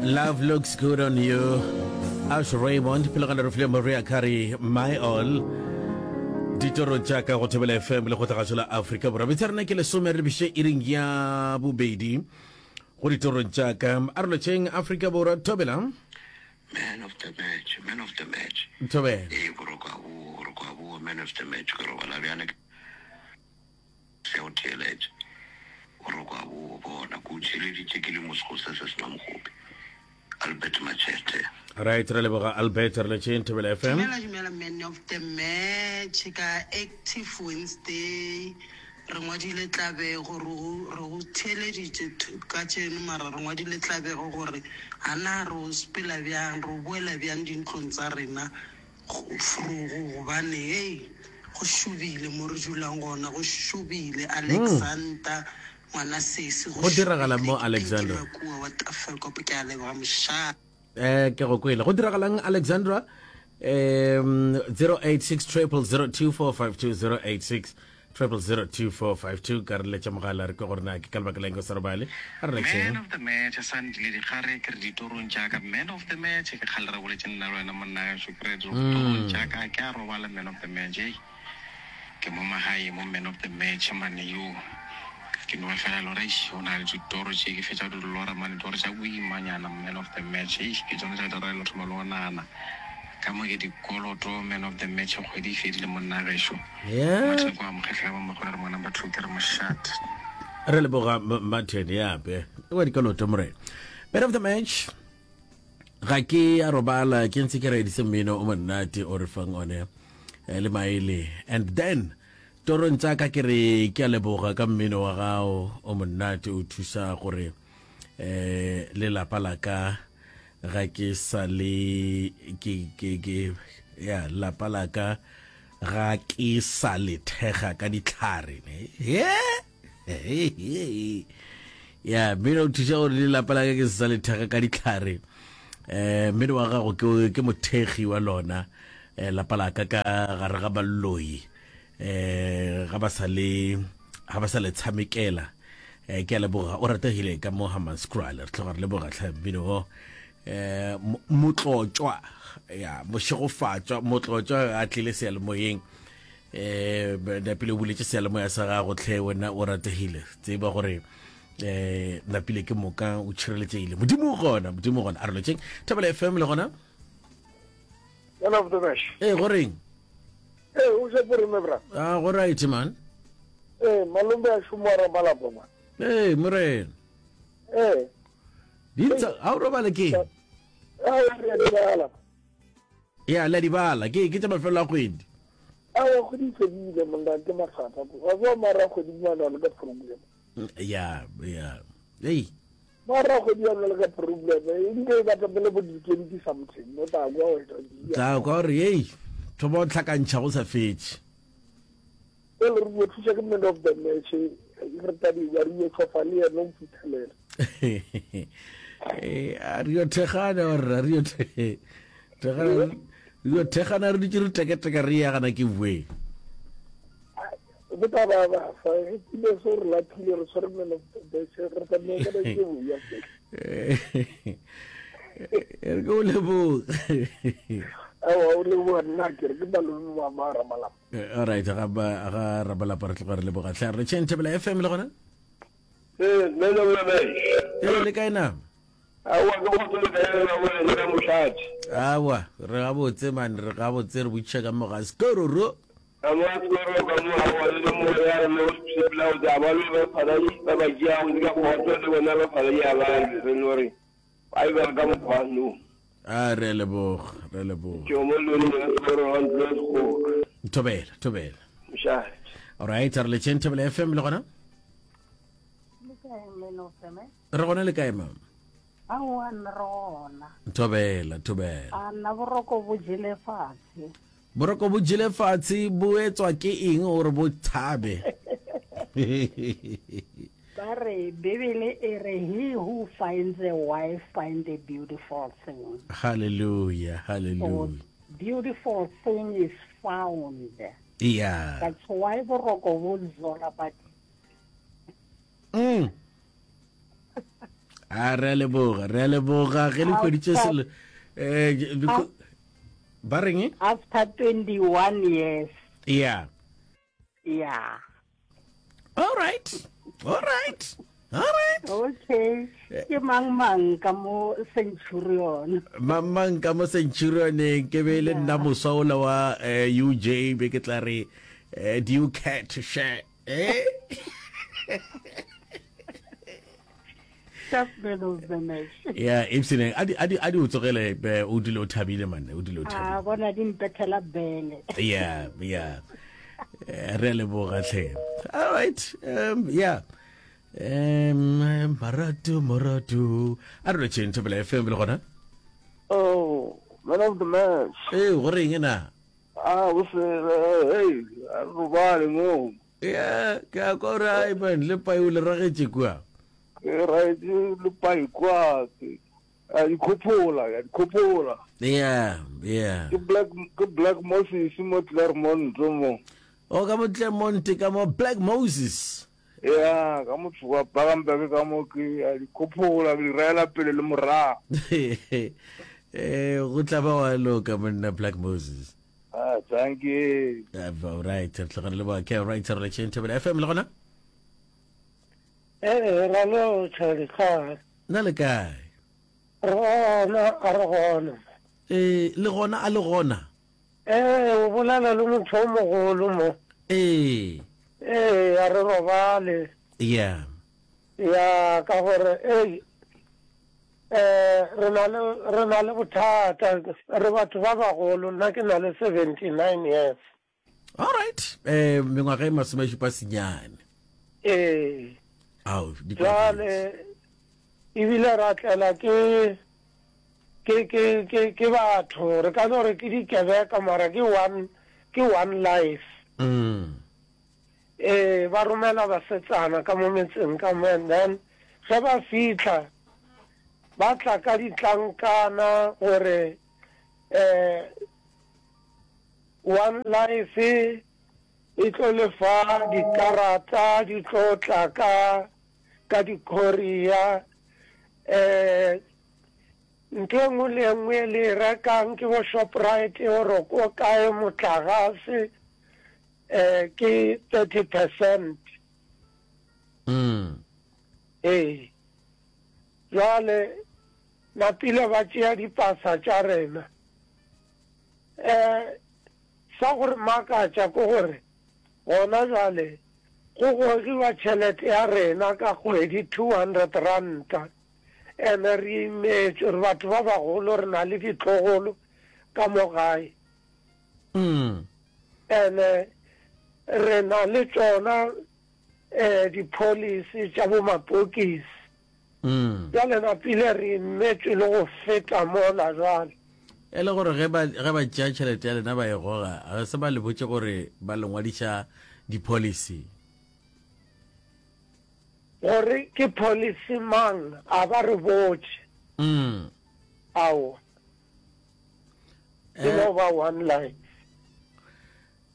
Love looks good on you. Ash Raymond, pele ga re file Maria Carey, My All. Ditoro tša ka go Thobela FM le go tlagatšo la Afrika Borwa. Metsi a rena ke lesome re lebiše iring ya bobedi go ditorong tša ka. A re lotšheng Afrika Borwa Thobela. Man of the match, man of the match. Thobela. Ee, boroko a boa, boroko a boa, man of the match. Ke robala bjale ke se o theeletše. Boroko a boa, bona, ke o theeleditše ke le mo sego se se sena mogobe. Albert Machete. Right, re leboga Albert, re letšeng Thobela FM. Dumela dumela man of the match ka active Wednesday re ngwadile tlabego re go re go theeleditše kajeno mara re ngwadile tlabego gore a na re o sepela bjang re o boela bjang dintlong tsa rena vrogo gobane hei go šobile mo re dulang gona go šobile Alexander ngwana sesi go Go diragalang šobile mo ke Pinky Alexandra? Makua wa Tafelkop ke a leboga mošate. Eh, ke go kwele. Go diragalang Alexandra? Um 086 0002452 086 0002452 ka re letša mogala re kwe gore na ke ka lebaka la eng o sa robale. A re Man letšeng. of the match Sandile Dikgare ke re ditorong tša ka man of the match ke kgale re boletše nna le wena monna gešo ke re ditorong tša ka ke a robala man of the match hei Ke mo magae mo man of the match mane yo ke no ba fela lora eish o na le ditoro tše ke fetša di lora mane ditoro tša boimanyana man of the match eish ke tsone tša dira le thoma le go nagana ka mo ke dikoloto man of the match kgwedi e fedile monna gešo Yeah. Martin kwa mokgehla ba mogolo re mo number 2 ke re mošate Re leboga M- Martin yape. Wa dikoloto morena. Man of the match. Ga ke a robala ke ntse ke reeditse mmino o monate o re fang one eh, le maele and then torong tsa ka ke re ke a leboga ka mmino wa gago o monate o thusa gore eh le lapa la ka ga ke sa le ke ke ke ya lapa la ka ga ke sa le thega ka ditlhare ne yeah ya mmino o thuša gore le lapa la ka ke se sa le thega ka ditlhare um mmino wa gago ke ke mothekgi wa lona um lapa la ka ka gare ga baloi um ga ba sa le ga ba sa le tshamekela um ke a leboga o rategile ka mo Hammanskraal re tloga re leboga tlhe mmino o um motlotšwa ya mošegofatšwa motlotšwa a tlile seyalemoyeng eh napile o buletše seyalemoya sa gago tlhe wena o rategile tseba gore eh napile ke moka o tšhireletšegile modimo o gona modimo o gona a re lotšeng thobela fm le gona Man of the match. ee go reng Ee, o je pore me bra. a go right man Ee, malombe a šomo wa ramalapa man. ee morena Ee. dintsa ga o robale ke A re a di bala. ya le a di bala ke ke tša mafelo a kgwedi Aowa kgwedi e fedile monna ke mathata wa tseba mara kgwedi mane le ka problem. Ya ya ei. Mara kgwedi ya le ka problem e nke e batla pele bo di 20 something no tla kwa o tla kwa gore ei thoma o tlhakantšha go sa fetše. Pele re yo thuša ke man of the match re tadi wa re yo tsofa le yena o fitlhelela. Eh, a re yo thekgana gore re yo thekgana Yo thekgana re dutše re teketeka re ya gana ke boe. Go tla ba ba fa e pile so re laphile re tshwere meno bese re tla nne ka ke boya. Re ke o leboga. Awa o leboga nna ke re ke malome wa ma ramalapa. All right ga ba ga ramalapa re tloga re leboga tlhe re tšheng Thobela FM le gona. Eh, nna le wena. Eh, le kae na? Aowa, ke kgotso le kae lena mo lena ka mošate? Aowa, re gabotse man, re gabotse re botšiša ka mo ga Skororo. Ka mo ga Skororo ka mo aowa le le mo ya rena go sepela go tsa ba lwe ba falai ba ba tšea go ka kgotso le bona ba falai a ba lwe re no re ba e ba ka mokgwa no. A re a leboga, re a leboga. Ke mo le le Skororo wa ntlo ya Sekgoka. Thobela, thobela. Mošate. All right, re le tšeng Thobela FM le gona? Le kae man of the match? Re gona le kae mama? Aowa nna re gona. Thobela, thobela. A nna boroko bo jele fatshe. Boroko bo jele fatshe bo etswa ke eng gore bo thabe? Ba re Bibele e re he who finds a wife find a beautiful thing. Hallelujah, hallelujah. So, beautiful thing is found. Yeah. That's why boroko bo zola badimo. Mm. A re a leboga, re a leboga ge le hweditše selo. Eh, ba reng? After 21 years. Yeah. Yeah. All right. All right. All right. Okay. Ke mang mang ka mo Centurion. Mang mang ka mo Centurion ke be le nna moswa ola wa eh, UJ be ke tla re eh, do you care to share? Eh? Just man of the match. Yeah, Ipsine, a di a di a di o tsogele eh, o dule o thabile man, o dule o thabile. Ah, bona di mpethela bele. Yeah, yeah. Eh, re a leboga tlhe. All right. Um yeah. Um marato marato. A re lotšheng Thobela FM le gona. Oh, man of the match. Eh, go reng na? Ah, o se hey, a re robale mo. Yeah, ke a kwa gore ai man, le pai o le ragetše kua. Ke raetše le pai kua, ke a di khophola, a di khophola. Yeah, yeah. Ke Black ke Black Moses mo Clermont mo. O ka mo Clermont ka mo Black Moses. Yeah, ka motho wa Bagamberg ka mo ke a di khophola, ke di raela pele le morago. Eh, go tla ba wa loka monna Black Moses. Ah, thank you. Uh, all right, re tlogele le boa. Okay, right, re letšeng Thobela FM le gona? Eh, ra lo tšha kae? Na le kae? Re gona, a re gona. Eh, le gona a le gona? Eh, o bolela le motho o mogolo mo. Eh. Eh, a re robale. Yeah. Ya, ka gore ei eh re na le re na le bothata re batho ba bagolo nna ke na le 79 years. All right. Eh mengwaga e masomešupa senyane. Ee. Ao, di Jwale ebile ra tlela ke ke ke ke ke batho re ka no re ke dikebeka mara ke one ke one life. Mm. Ee, ba romela basetsana ka mo metseng ka mo and then ge ba fihla ba tla ka ditlankana gore um One Life e tlo le fa dikarata di tlo tla ka ka di-courier um ntho e nngwe le e nngwe e le e rekang ke bo Shoprite or ko kae motlagase eh ke 30 percent mm. ee jwale napile ba tšea dipasa tša rena eh sa gore makatša ke gore gona jwale go gogiwa tšhelete ya rena ka kgwedi 200 ranta ene re imetšwe re batho ba bagolo re na le ditlogolo ka mo gae Mm. Ene re na le tšona eh di-policy tša bo mapokisi. Mm. Bjale napile re imetšwe le go feta mola jwale. E le gore ge ba ge ba tšea tšhelete ya lena ba e goga, ga se ba le botše gore ba le ngwadiša di-policy. Gore ke policy mang a ba re botše. Mm. Aowa. E no ba one life.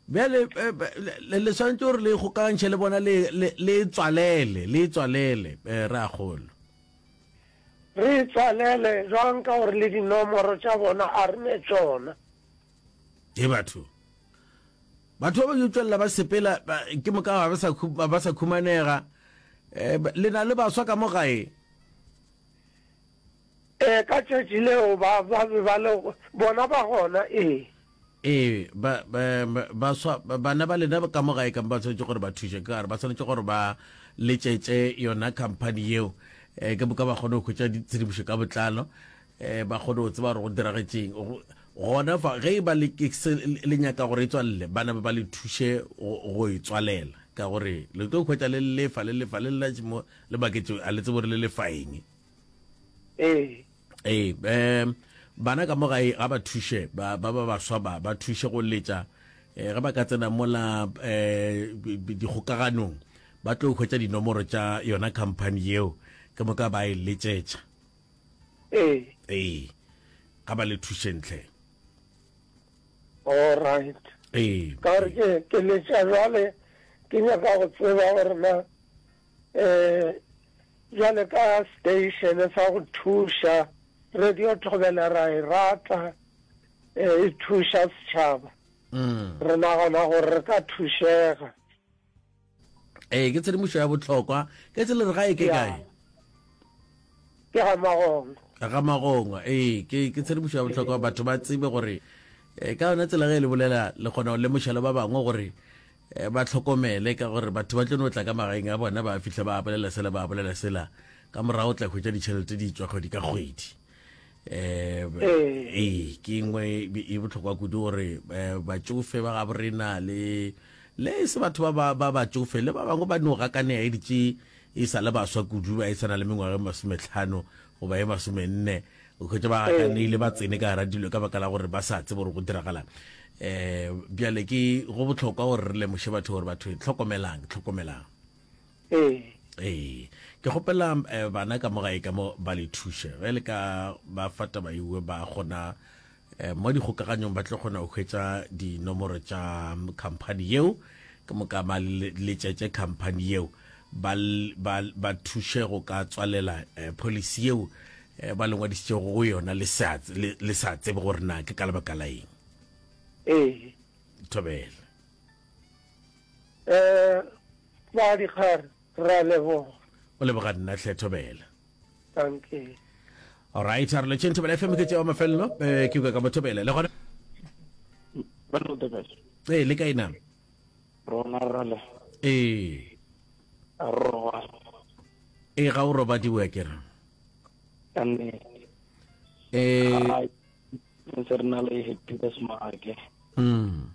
Bjale eh, le le swanetše gore le ikgokagantšhe le bona le le le e tswalele le e tswalele eh, re a kgolo. Re e tswalele jwang ka gore le dinomoro tša bona a re ne tšona. He batho. Batho ba ba yo tšwelela ba sepela ke moka ga ba sa ba sa khumanega. Eh, le na le baswa ka mo gae. Ee, ka tšatši leo ba, ba be ba le, bona ba gona, ee. Ee, ba, ba, baswa, bana ba lena ka mo gae ka mo ba tshwanetše gore ba thuše, ka gare ba tshwanetše gore ba letšetše yona company yeo, eh, ke moka ba kgone go hwetša ditshedimošo ka botlalo, eh, ba kgone go tseba gore go diragetšeng. Gona fa, ge e ba le, ke se, le nyaka gore e tswalele, bana ba ba le thuše go, go e tswalela, ka gore le tlo hwetša le lefa, le lefa, le lla mo, le maketše, a le tsebe gore le lefa eng. Ee. Ee, um bana ka mo gae ga ba thuše ba ba ba baswa ba ba thuše go letša eh, ge ba ka tsena mola eh, dikgokaganong ba tlo hwetša dinomoro tša yona company yeo ke moka ba e letšetša. Ee. Ee, ga ba le thušeng tlhe. All right. Ee. Ka gore ke ke letša jwale ke nyaka go tseba gore na eh. Bjale ka station sa go thuša, Radio Thobela ra e rata, e thuša setšhaba. Re nagana gore re ka thušega. Ee, ke tshedimošo ya bohlokwa. Ke tsela re gae ke kae? Ke ga Magongwa. Ga Magongwa, ee, ke ke tshedimošo ya bohlokwa batho ba tsebe gore eh, ka yona tsela ge e le bolela le kgona go lemoša le ba bangwe gore eh, ba tlhokomele ka gore batho ba tlo no tla ka magaeng a bona ba fihla ba bolela sela ba bolela sela ka morago tla hwetša ditšhelete di tswa kgwedi ka kgwedi um ee ke nngwe e bohlokwa kudu gore eh, batšofe ba gabo rena le le e se batho ba ba batšofe le ba bangwe ba no gakanea e ditše e sa le baswa kudu ba e tshwana le mengwaga e masometlhano goba e masomenne o hwetša ba gakanile ba tsene ka gara dilo ka baka la gore ba sa tsebe gore go diragalang um bjale ke go bohlokwa gore re lemoše batho gore batho tlhokomelang tlhokomelang ee ee ke kgopela eh, bana ka mo gae ka mo ba le thuše ge le ka ba fa taba ewe ba kgona eh, mo dikgokaganyong ba tlo kgona go hwetša dinomoro tša khamphani yeo ke moka ba letšetše khamphani yeo ba, ba, ba thuše go ka tswalela eh, policy yeo eh, ba le ngwadišitšego go yona le sa le, le sa tsebe gore na ke ka lebaka la eng. Ee. Thobela. Eh, ba dikgare, re a leboga. O leboga nna hle Thobela. Dankie. Alright, a re letšeng Thobela FM ke tšeo mafelelo, eh, ke kwa ka mo Thobela. Le gona? Ee, le kae na? Rona rale. Ee. A roba. Ee, ga o robadiwe ke re. Ka nnete. Ee. Ntse re na le Happy Bismarck. Mm.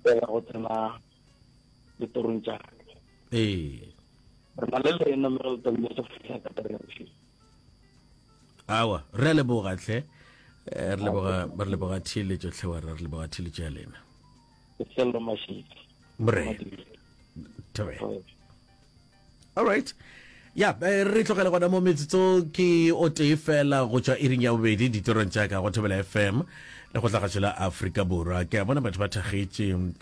Pela go tsena ditorong tša ka. Ee. Re na le lena mme re le go fihla ka tare ya bošego. Awa, re a leboga hle. Eh, re leboga re leboga theeletšo hle wa re leboga theeletšo ya lena. Ke Sello Mashidi. Morena. Thobela. All right. Ya, eh, re tlogele gona mo metsotso ke o tee fela go tšwa iring ya bobedi ditorong tša ka go Thobela FM le go tla gašo la Afrika Borwa. Ke a bona batho ba thagetše.